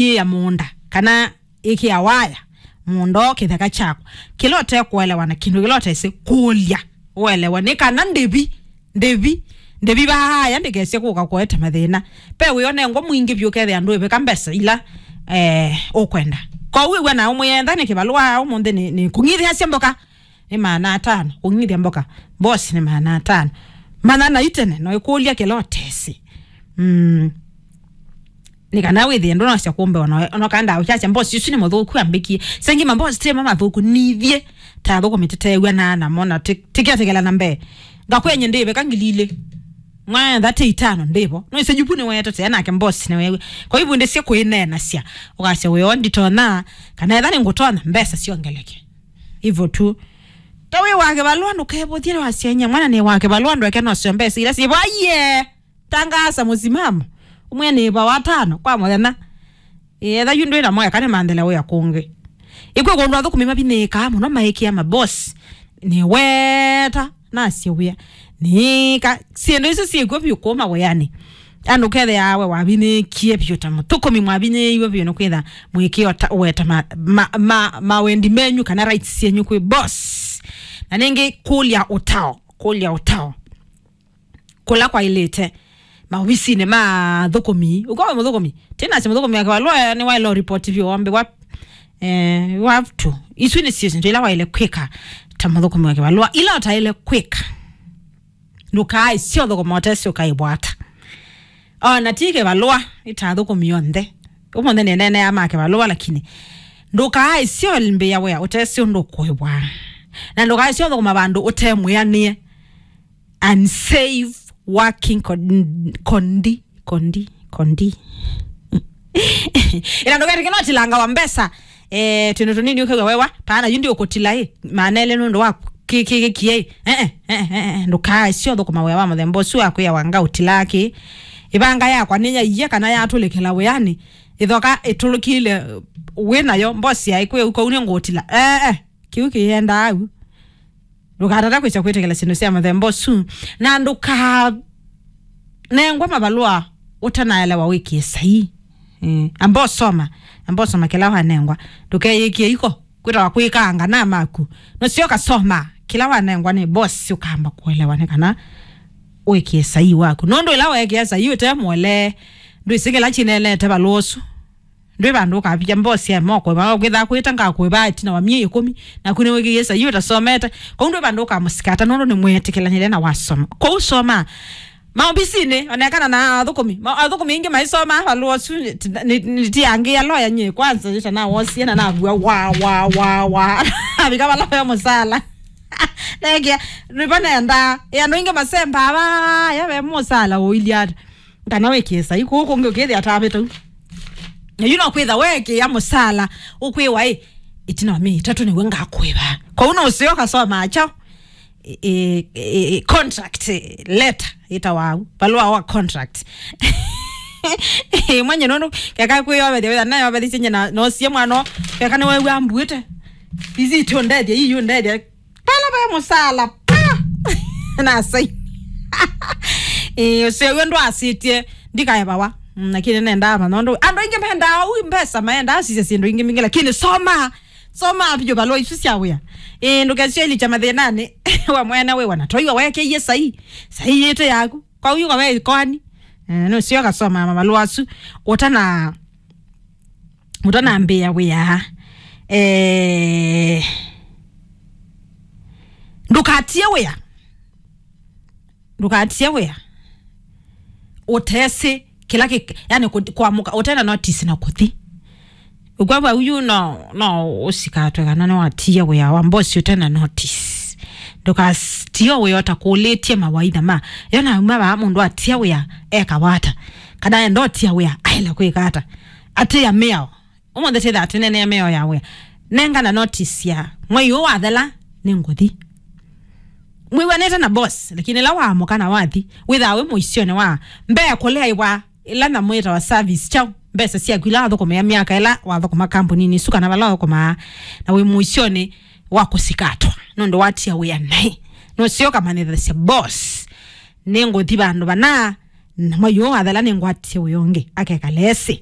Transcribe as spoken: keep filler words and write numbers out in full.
yĩya mũũnda, kana ĩkĩa waya mũũnda o kĩtheka kyakwa. Kĩla ũtekũelewa na kĩndũ kĩla ũtesĩ kũlya ũelewa nĩ kana ndĩvi, ndĩvi, ndĩvi vaaya ndĩkesye kũka kũete mathĩna. Pe wĩonengwa mwingĩ vyũ ũkethĩa ndwĩvĩka mbesa ila, eh, ũkwenda. Kwoou wĩw'a na ũmwĩenda nĩ kĩvalũa ũmũnthĩ nĩ, nĩ kũng'ithĩasya mboka. Nĩ maana atano. Kũng'ithya mboka. Boss nĩ maana atano. Manya na itene, no ĩkũlya kĩla ũtesĩ. Mm. Nĩ kana wĩthĩe ndũnasya kũmbe ona, ona ũkaenda ũkyasya mbosi ũsu nĩ mũthũku ambĩkie. Sengi mbosi tema mathũku nithiĩ. Ta thũkũmi tĩteew'a na namo na tĩ-, tĩkĩatĩkĩla na mbee. Ngakwenye ndĩveka ngili ilĩ. Mwaetha tĩ itano ndĩvo. No ise jupu nĩ weetete nake mbosi nĩ wewe. Kwa hivyo ndĩsye kwĩneenasya. Ũkasya wĩo nditona, kana etha nĩ ngũtona mbesa siongeleke. Hivyo tu. Ta wĩ wa kĩvalũa ndũkevũthye wasyenye mwana nĩ wa kĩvalũa ndweke nosyo mbesa ila syĩvo aiye. Tangaasa mũsimamo. Ũmwe nĩ va watano kwa mũthenya. Etha yu ndwĩ na mweka nĩ manthela wĩa kũngĩ. Ĩkwĩ kũndũ athũkũmi mavinĩĩkaa mũno maĩkĩa mabosi. Nĩ weta nasye wĩa. Nĩka syĩndũ isu syĩkw'o vyũ kũma wĩanĩ. Andũ kethĩaa we wavinĩkie vyũ ta mũthũkũmi mwavinĩĩiwe vyũ nĩ kwĩtha mwĩkĩo ta weta ma, ma, ma, mawendi menyu kana rights syenyu kwĩ boss. Na nĩngĩ kũlya ũtao, kũlya ũtao. Kũla kwaĩlĩte maovisinĩ ma athũkũmi. Ũkw'a wĩ mũthũkũmi? Tinasya mũthũkũmi wa kĩvalũa nĩwaĩle ũripoti vyũ wambĩwa, eh, you have to. Isu nĩ syĩndũ ila waĩle kwĩka ta mũthũkũmi wa kĩvalũa. Ila ũtaĩle kwĩka, ndũkaaĩsye ũthũkũma ũtesĩ ũkaĩvwata. O na ti kĩvalũa, ĩta athũkũmi onthe. Ũmũnthĩ nĩneenea ma kĩvalũa, lakini ndũkaaĩsye ũlĩmbĩa wĩa ũtesĩ ũndũ ũkũĩvwa. Na ndũkaaĩsye ũthũkũma vandũ ũte mwĩanĩe. Unsafe working con-, condi, condi, condi. Ĩla ndũketĩkĩla ũtilanga wa mbesa, eh, twĩndũ tũnini ũkew'a wewa, paana yu ndiũkũtila ĩ, maana elĩ nũndũ wa kĩ-, kĩ-, kĩkie ĩ. Eh, eh, eh, eh, eh, ndũkaaĩsye ũthũkũma wĩa wa mũthemba ũsu wa kwĩa wanga ũtilaa kĩ. Ĩvanga yakwa nĩyaie kana yatũlĩkĩla wĩanĩ, ĩthoka ĩtũlũkile wĩ nayo, mbosi yaĩ kwĩ ũko ũu nĩngũũtila. Eh, eh. Kĩu kĩyendaa au. Ndũkatate kwĩsya kwĩtĩkĩla syĩndũ sya mũthemba ũsu. Na ndũkanengwa mavalũa ũtanaelewa wĩkĩe saii. Eh, amba ũsoma. Amba ũsoma kĩla wanengwa. Ndũkeyĩkĩe iko. Kwĩtawa kwĩkaanga na maku. Nũseo kasoma. Kĩla wanengwa nĩ boss ũkamba kũelewa nĩ kana wĩkĩe saii waku. Nũndũ ĩla weekĩa saii ũte mũolee, ndwĩsĩ kĩla kineenete valũa ũsu. Ndwĩ vandũ ũkavika mbosi ya moko, va kwĩthaa kwĩta ngakũĩva ĩtina wa myei ĩkũmi, naku nĩwĩkĩie saii ũtasomete. Kwoou ndwĩ vandũ ũkamũsikata nũndũ nĩmwĩtĩkĩlanĩle na wasoma. Kwoou soma. Maovisinĩ, onekana na athũkũmi. Ma-, athũkũmi aingĩ maisoma, valũa ũsu, nĩ-, nĩ-, nĩtiangĩĩa loya nyie kwanza, ĩtanawosie na navua, wa, wa, wa, wa. Avika vala ve mũsala. Neke, nĩvo nendaa. Ĩ andũ aingĩ masembaa, va, ya ve mũsala ũilyĩ ata. Kana wĩkĩe saii kũu kũngĩ ũkĩthĩa atavĩte u. Na yu no kwĩtha weekĩa mũsala, ũkwĩwa ĩ, ĩtina wa myei ĩtatũ nĩw'o ngakũĩva. Kwoou no ũseo kasoma kyaũ? Ĩ, ĩ, ĩ, contract letter ĩtawa au. Valũa wa contract. Ĩ, mwenye nũndũ, keka kwĩyovetya, wĩtha nayovethisye nye na, nosie mwana, keka nĩwew'a mbuĩte. Ici itũndethya, ii yũndethya. Pala ve mũsala, pa! Na sai. Eh, ũseo w'o ndwasĩtye, ndikaevawa. Mm, lakini nendaa manya ũndũ. Andũ aingĩ mendaa ũu mbesa, maendaa sisya syĩndũ ingĩ mbingĩ, lakini soma. Soma vyũ valũa isu sya wĩa. Eh, ndũkesyo ilicha mathĩnanĩ. Wa mwene wĩ wana. Toiwa wekeie saii. Saii yĩte yaku. Kwa uyu kawe ikoani. Eh, nũseo kasoma mavalũa asu. Ũtana ũtanambĩĩa wĩa, eh, ndũkatie wĩa. Ndũkatie wĩa. Ũtesĩ kĩla kĩ-, yani kũ-, kwamũka, ũtena notice na kũthi. Ũkwavwa uyu no, no ũsikatwe kana nĩwatie wĩa wa mbosi ũtena notice. Ndũkatie wĩa ũtakũlĩtye mawaitha ma. Yo nauma vaa mũndũ atia wĩa eka wata. Kana enda ũtia wĩa aĩle kwĩka ata. Atĩa mĩao. Ũmũnthĩ tĩthaa tĩneenea mĩao ya wĩa. Nengana notice ya mwei ũũ wathela, nĩngũthi. Mwĩw'anĩte na boss, lakini ĩla waamũka na wathi, wĩthaa wĩ mũisyonĩ wa mbee kũlea ĩwa ĩla nyamũ yĩtawa service kyaũ, mbesa syaku ila wathũkũmĩa myaka ĩla wathũkũma kambuninĩ isu kana vala wathũkũmaa, na wĩ mũisyonĩ wa kũsikatwa, nũndũ watia wĩa naĩ. Nũseo ũkamanyĩthasya boss, nĩngũthi vandũ vana, na mwei ũũ wathela nĩngwatie wĩa ũngĩ, akekala esĩ.